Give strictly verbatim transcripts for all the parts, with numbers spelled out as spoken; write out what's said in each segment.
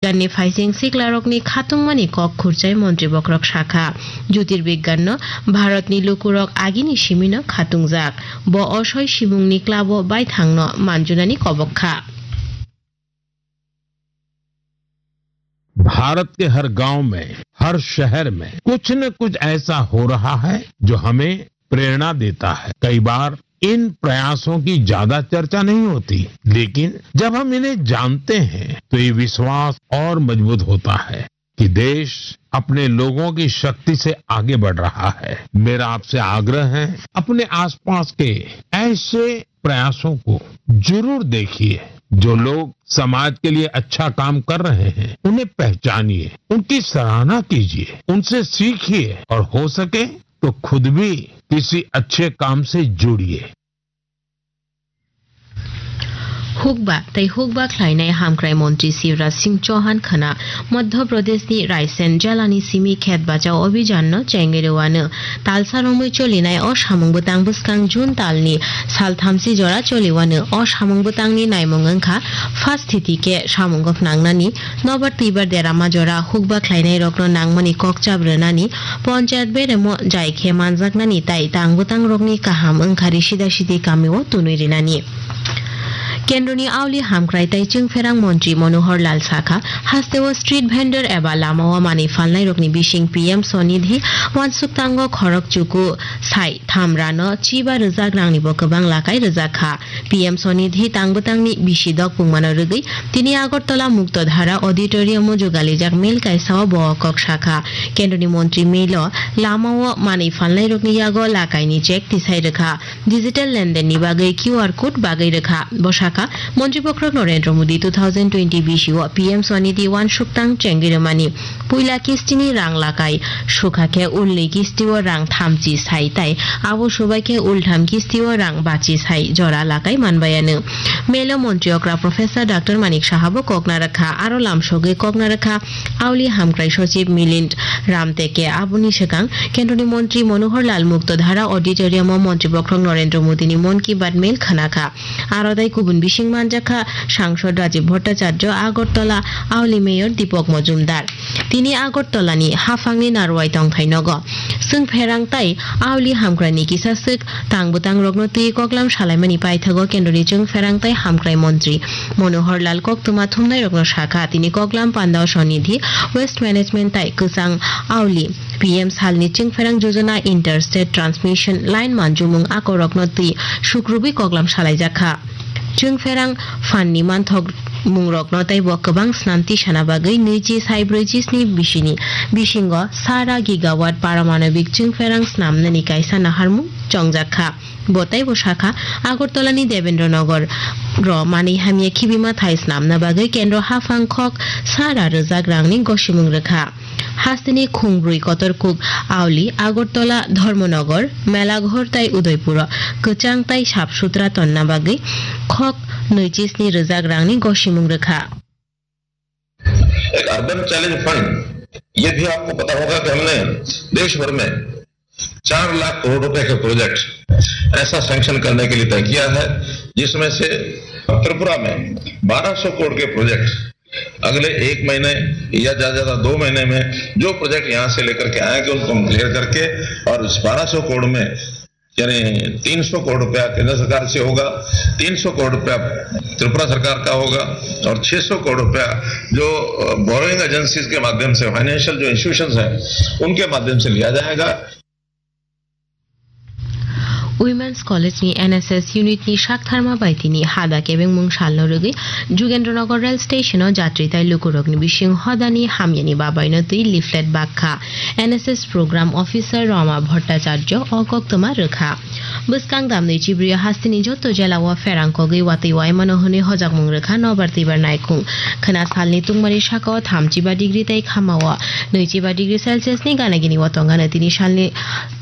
Jyotirbigyani phaising siklarokni khatungmani kok khurchai montri bokhorok sakha, Jyotirbigyano Bharatni lukurok agini simino khatungjak. Bo o soi simungni club-o baithangno manjunani kobok kha. Bharat के हर गांव में, हर शहर में कुछ न कुछ ऐसा हो रहा है जो हमें प्रेरणा देता है। कई बार इन प्रयासों की ज्यादा चर्चा नहीं होती, लेकिन जब हम इन्हें जानते हैं तो ये विश्वास और मजबूत होता है कि देश अपने लोगों की शक्ति से आगे बढ़ रहा है। मेरा आपसे आग्रह है, अपने आसपास के ऐसे प्रयासों को जरूर देखिए। जो लोग समाज के लिए अच्छा काम कर रहे हैं, उन्हें पहचानिए, उनकी सराहना कीजिए, उनसे सीखिए और हो सके तो खुद भी किसी अच्छे काम से जुड़िए। Hukba tei hukba khlainai hamkrai montri Shivraj Singh Chauhan khwna Madhya Pradeshni Raisen jelani simi khet bachao abhijanno chengwi rwano. Talsa romwi cholinai o samung bwtang bwskang June talni sal thamsi jora choliwano. O samung bwtangni naimung wngkha first thiti khe samungo phnangnani, nobar twibar derama jora hukba khlainairokno nangmani kokchap rwnani, ponchayat beremo jai khe manjaknani tai tang bwtangrokni kaham wngkha ri sida sidi kamio tunwi rinani. Kendroni auli hamkrai tei chwngpherang montri Manohar Lal sakha, hasteo street vendor eba lamao manwi phalnairokni bising P M Swanidhi wansuktango khorok chuku sai tham rano chiba rwjak rangnibo kwbang lakai rwjak kha. P M Swanidhi tang bwtangni bisi dok pungmano rwgwi tini Agartala Muktodhara Auditorium-o jugalijak mel kaisao bo kok sakha. Kendroni montri melo lamao manwi phalnairokni yago lakaini check tisai rwkha. Digital lendenni bagwi Q R code bagwi rwkha. Bo sakha, Montri Bokhorok Narendra Modi two thousand twenty bisio P M Swanidhi wansukthang chengwi rwmani puila kistini rang lakai sukha khe ulni kistio rang thamchi sai tai abo subai khe ultham kistio rang bachi sai jora lakai manbayano. Melo Montri okra Professor Doctor Manik Saha bo kokna rwkha, aro lamsogwi kokna rwkha Auli Hamkrai Sochib Milind Ramteke. Aboni swkang Kendroni Montri Manohar Lal Muktodhara Auditorium-o Montri Bokhorok Narendra Modini Mon Ki Baat Mail khwnakha. Aro tei kubun bising manjakha Sangsod Rajiv Bhattacharya, Agartala Auli Mayor Deepak Majumdar. Tini Agartalani haphangni narwai tongthai nogo chwngpherang tai Auli Hamkraini kisa swk tang bwtangrokno twi koklam salaimani paithago Kendroni chwngpherang tai hamkrai montri Manohar Lal koktwma thumnairokno sakha. Tini koklam pandao Swanidhi Waste Management tai kwchang Auli P M salni chwngpherang Jojana Interstate Transmission Line manjumung akorokno twi sukrubwi koklam salaijakha. Chwngpherang phanni manthok mungrokno tei bo kwbang snam tisana bagwi nwichi sai brwichi sni bisini bisingo sara gigawatt paramanobik chwngpherang snamnani kaisa naharmung chongjakha. Bo tei bo sakha, Agartalani Debendra Nagar ro manwi hamya khibima thai snamna bagwi kendro haphang khok sara rwjak rangni gosimung rwkha. Hasteni khungbrwi kotor kuk Auli, Agartala, Dharmanagar, Melaghor tai Udaipuro kwchang tai sap sutra tonna bagwi khok nwichi sni rwjak rangni gosimung rwkha. एक urban challenge fund, ये भी आपको पता होगा कि हमने देश भर में चार लाख करोड़ रुपए के प्रोजेक्ट ऐसा सैंक्शन करने के लिए तय किया है, जिसमें से त्रिपुरा में बारह सौ करोड़ के प्रोजेक्ट अगले एक महीने या ज्यादा ज्यादा दो महीने में जो प्रोजेक्ट यहाँ से लेकर के आएंगे, उनको हम क्लियर करके और इस बारह सौ करोड़ में यानी तीन सौ करोड़ रुपया केंद्र सरकार से होगा, तीन सौ करोड़ रुपया त्रिपुरा सरकार का होगा और छह सौ करोड़ रुपया जो बोरोइंग एजेंसीज के माध्यम से, फाइनेंशियल जो इंस्टीट्यूशंस हैं, उनके माध्यम से लिया जाएगा। Women's College ni N S S unit ni saktharma bai tini hada kebengmung salno rwgwi Jugendranagar rail station o jatri tai lukurokni bising hodani hamyani babaino twi leaflet bakha N S S program officer Rama Bhattacharya o koktwma rwkha. Bwskang damni chibrio hasteni joto jela o pherang kogwi watwi waimano hwnwi hojakmung rwkha nobar twibar naikhung. Khwna salni tungmari sakao thamchiba degree tei khamao nwichiba degree Celsius ni gana gini o tongano tini salni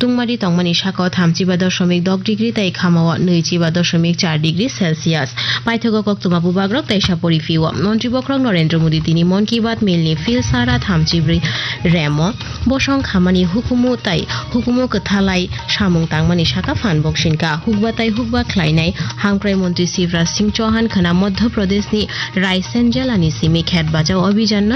tungmari tongmani sakao thamchiba dosomik dok degree tei khamao nwichiba dosomik char degree Celsius. Paithago koktwma bubagrok teisa poriphio. Montri bokhorok Narendra Modi tini Mon Ki Baat mail ni phil sara thamchibrwi remo bosong khamani hukumu tai hukumu kwthalai samung tangmani saka phan boksinka. Hukba tai hukba khlainai hamkrai montri Shivraj Singh Chauhan khwna Madhya Pradesh ni Raisen jela ni simi khet bachao abhijan no